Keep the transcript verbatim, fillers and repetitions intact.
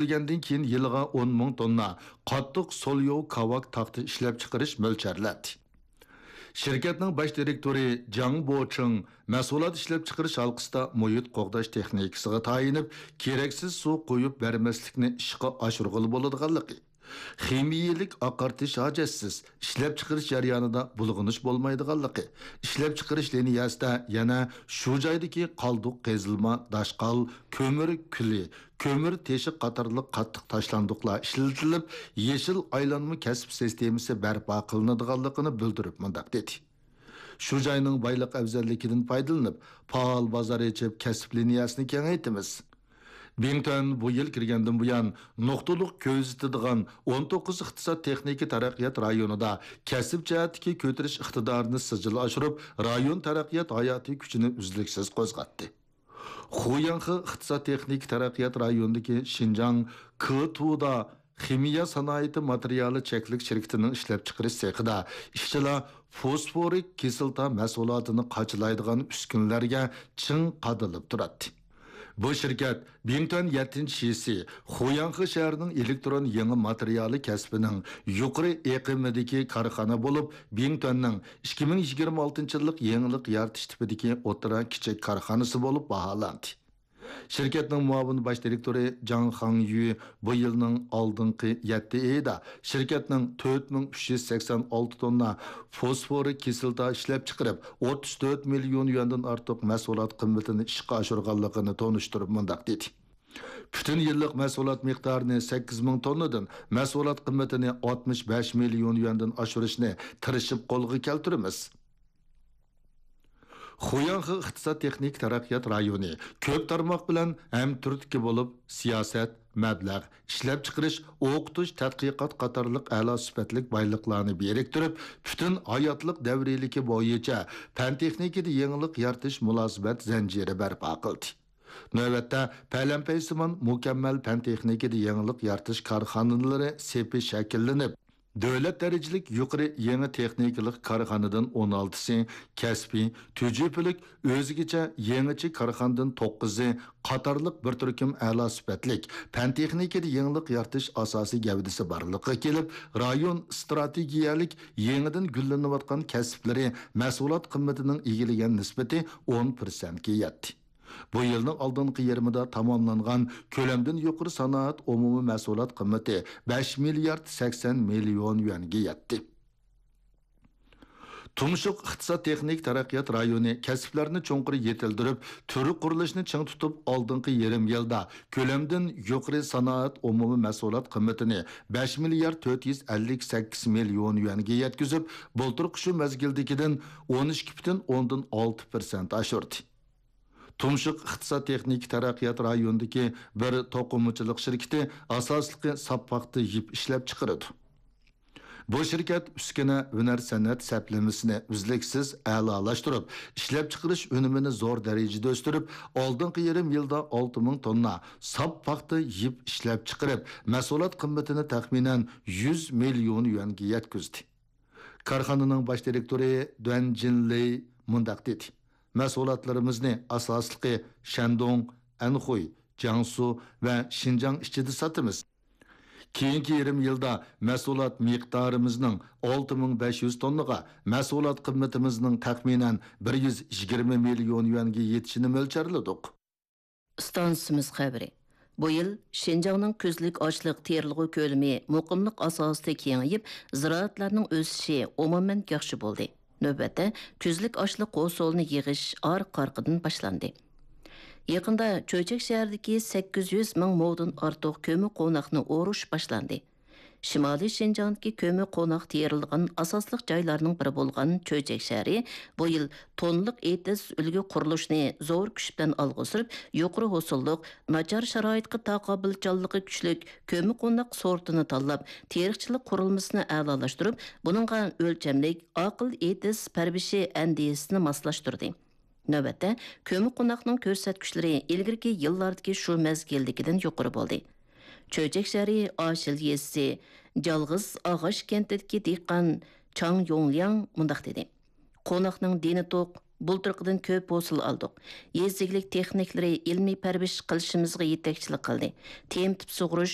كۆتۈرۈلگەندىن كېيىن يىلىغا ئون مىڭ توننا قاتتىق سولياۋ كاۋاك تاختا ئىشلەپچىقىرىش مۆلچەرلەندى. شىركەتنىڭ باش دىرېكتورى جاڭ بوچىڭ مەھسۇلات ئىشلەپچىقىرىش ھالقىسىدا مۇھىت قوغداش تېخنىكىسىغا تايىنىپ، كېرەكسىز سۇ قۇيۇپ بەرمەسلىكنى ئىشقا ئاشۇرغىلى بولىدىغانلىقى، خىمىيەلىك ئاقارتىش ھاجەتسىز، ئىشلەپچىقىرىش جەريانىدا بۇلغىنىش بولمايدىغانلىقى، ئىشلەپچىقىرىش لىنىيەسىدە يەنە شۇ جايدىكى قالدۇق قېزىلما، داشقال، كۆمۈر كۈلى، كۆمۈر تېشى قاتارلىق قاتتىق تاشلاندۇقلار ئىشلىتىلىپ، يېشىل ئايلانما كەسىپ سىستېمىسى بەرپا قىلىنىدىغانلىقىنى بىلدۈرۈپ مۇنداق دېدى: شۇ جاينىڭ بايلىق ئەۋزەللىكىدىن پايدىلىنىپ، پائال بازار ئېچىپ، كەسىپ لىنىيەسىنى كېڭەيتىمىز. بىڭتۈەن بۇ يىل كىرگەندىن بۇيان، نۇقتىلىق كۆزىتىدىغان ئون توققۇز ئىقتىساد تېخنىكا تەرەققىيات رايونىدا كەسىپ جەھەتتىكى كۆتۈرۈش ئىقتىدارىنى سىجىل ئاشۇرۇپ، رايون تەرەققىيات ھاياتىي كۈچىنى ئۈزلۈكسىز قوزغاتتى. خۇياڭخې ئىقتىساد تېخنىكا تەرەققىيات رايونىدىكى شىنجاڭ كېتۇدا خىمىيە سانائىتى ماتېرىيالى چەكلىك شىركىتىنىڭ ئىشلەپچىقىرىش سېخىدا ئىشچىلار فوسفورىك كىسلاتا مەھسۇلاتىنى قاچىلايدىغان ئۈسكۈنىلەرگە چىڭ قادىلىپ تۇراتتى. بۇ شىركەت بىڭتۈەن يەتتىنچى شىسى خۇياڭخې شەھىرىنىڭ ئېلېكترون يېڭى ماتېرىيالى كەسپىنىڭ يۇقىرى ئېقىمىدىكى كارخانا بولۇپ، بىڭتۈەننىڭ ئىككى مىڭ يىگىرمە ئالتىنچى يىللىق يېڭىلىق يارىتىش تىپىدىكى ئوتتۇرا كىچىك كارخانىسى بولۇپ باھالاندى. شىركەتنىڭ مۇئاۋىن باش دىرېكتورى جاڭ خاڭيۈ بۇ يىلنىڭ ئالدىنقى يەتتە ئېيىدا شىركەتنىڭ تۆت مىڭ ئۈچ يۈز سەكسەن ئالتە توننا فوسفورىك كىسلاتا ئىشلەپچىقىرىپ، ئوتتۇز تۆت مىليون يۈەندىن ئارتۇق مەھسۇلات قىممىتىنى ئىشقا ئاشۇرغانلىقىنى تونۇشتۇرۇپ مۇنداق دېدى: پۈتۈن يىللىق مەھسۇلات مىقدارىنى سەككىز مىڭ توننىدىن، مەھسۇلات قىممىتىنى ئاتمىش بەش مىليون يۈەندىن ئاشۇرۇشنى تىرىشىپ قولغا كەلتۈرىمىز. خۇياڭخې ئىقتىساد تېخنىكا تەرەققىيات رايونى كۆپ تارماق بىلەن ھەمتۈرتكە بولۇپ، سىياسەت، مەبلەغ، ئىشلەپچىقىرىش، ئوقۇتۇش، تەتقىقات قاتارلىق ئەلا سۈپەتلىك بايلىقلارنى بىرىكتۈرۈپ، پۈتۈن ھاياتلىق دەۋرىيلىكى بويىچە پەن-تېخنىكىدا يېڭىلىق يارىتىش مۇلازىمەت زەنجىرى بەرپا قىلدى. نۆۋەتتە پەلەمپەيسىمان مۇكەممەل پەن-تېخنىكىدا يېڭىلىق يارىتىش كارخانىلىرى سېپى شەكىللىنىپ، دۆلەت دەرىجىلىك يۇقىرى يېڭى تېخنىكىلىق كارخانىدىن ئون ئالتىسى، كەسپىي، تۈجۈپىلىك، ئۆزگىچە، يېڭىچە كارخانىدىن توققۇزى قاتارلىق بىر تۈركۈم ئەلا سۈپەتلىك پەن-تېخنىكىدا يېڭىلىق يارىتىش ئاساسىي گەۋدىسى بارلىققا كېلىپ، رايون ئىستراتېگىيەلىك يېڭىدىن گۈللىنىۋاتقان كەسىپلىرى مەھسۇلات قىممىتىنىڭ ئىگىلىگەن نىسبىتى ئون پىرسەنتكە يەتتى. بۇ يىلنىڭ ئالدىنقى يېرىمىدا تاماملانغان كۆلەمدىن يۇقىرى سانائەت ئومۇمىي مەھسۇلات قىممىتى بەش مىليارد سەكسەن مىليون يۈەنگە يەتتى. تۇمشۇق ئىقتىساد تېخنىك تەرەققىيات رايونى كەسىپلەرنى چوڭقۇر يېتىلدۈرۈپ، تۈر قۇرۇلۇشىنى چىڭ تۇتۇپ، ئالدىنقى يېرىم يىلدا كۆلەمدىن يۇقىرى سانائەت ئومۇمىي مەھسۇلات قىممىتىنى بەش مىليارد تۆت يۈز ئەللىك سەككىز مىليون يۈەنگە يەتكۈزۈپ، بۇلتۇرقى شۇ مەزگىلدىكىدىن ئون ئىككى پۈتۈن ئوندىن ئالتە پىرسەنت ئاشۇردى. تۇمشۇق ئىقتىساد تېخنىكا تەرەققىيات رايونىدىكى بىر توقۇمىچىلىق شىركىتى ئاساسلىقى ساپ پاختا يىپ ئىشلەپچىقىرىدۇ. بۇ شىركەت ئۈسكۈنە، ھۈنەر-سەنئەت سەپلىمىسىنى ئۈزلۈكسىز ئەلالاشتۇرۇپ، ئىشلەپچىقىرىش ئۈنۈمىنى زور دەرىجىدە ئۆستۈرۈپ، ئالدىنقى يېرىم يىلدا ئالتە مىڭ توننا ساپ پاختا يىپ ئىشلەپچىقىرىپ، مەھسۇلات قىممىتىنى تەخمىنەن يۈز مىليون يۈەنگە يەتكۈزدى. كارخانىنىڭ باش دىرېكتورى دۇەن جىنلېي مۇنداق دېدى: مەھسۇلاتلىرىمىزنى ئاساسلىقى شەندۇڭ، ئەنخۇي، جياڭسۇ ۋە شىنجاڭ ئىچىدە ساتىمىز. كېيىنكى يېرىم يىلدا مەھسۇلات مىقدارىمىزنىڭ ئالتە مىڭ بەش يۈز توننىغا، مەھسۇلات قىممىتىمىزنىڭ تەخمىنەن بىر يۈز يىگىرمە مىليون يۈەنگە يېتىشىنى مۆلچەرلىدۇق. ئىستانسىمىز خەۋىرى. بۇ يىل شىنجاڭنىڭ كۈزلۈك ئاشلىق تېرىلغۇ كۆلىمى مۇقىملىق ئاساسىدا كېڭىيىپ، زىرائەتلەرنىڭ ئۆسۈشى ئومۇمەن ياخشى بولدى. نۆۋەتتە، كۈزلۈك ئاشلىق ھوسۇلىنى يىغىش ئارقا-ئارقىدىن باشلاندى. يېقىندا چۆچەك شەھىرىدىكى سەككىز يۈز مىڭ مودىن ئارتۇق كۆممىقوناقنى ئورۇش باشلاندى. شىمالىي شىنجاڭدىكى كۆممىقوناق تېرىلىدىغان ئاساسلىق جايلارنىڭ بىرى بولغان چۆچەك شەھىرى بۇ يىل توننىلىق ئېتىز ئۈلگە قۇرۇلۇشىنى زور كۈچ بىلەن ئالغا سۈرۈپ، يۇقىرى ھوسۇللۇق، ناچار شارائىتقا تاقابىلچانلىقى كۈچلۈك كۆممىقوناق سورتىنى تاللاپ، تېرىقچىلىق قۇرۇلمىسىنى ئەلالاشتۇرۇپ، بۇنىڭغا ئۆلچەملىك ئاقىل ئېتىز پەرۋىشى ئەندىزىسىنى ماسلاشتۇردى. نۆۋەتتە، كۆممىقوناقنىڭ كۆرسەتكۈچلىرى ئىلگىرىكى يىللاردىكى شۇ مەزگىلدىكىدىن يۇقىرى بولدى. چۆچەك شەھىرى ئاشىل يېزىسى جالغىز ئاغاچ كەنتىدىكى دېھقان چاڭ يوڭلياڭ مۇنداق دېدى: قوناقنىڭ دېنى توق، بۇلتۇرقىدىن كۆپ ھوسۇل ئالدۇق. يېزا ئىگىلىك تېخنىكلىرى ئىلمىي پەرۋىش قىلىشىمىزغا يېتەكچىلىك قىلدى. تېمىتىپ سۇغۇرۇش،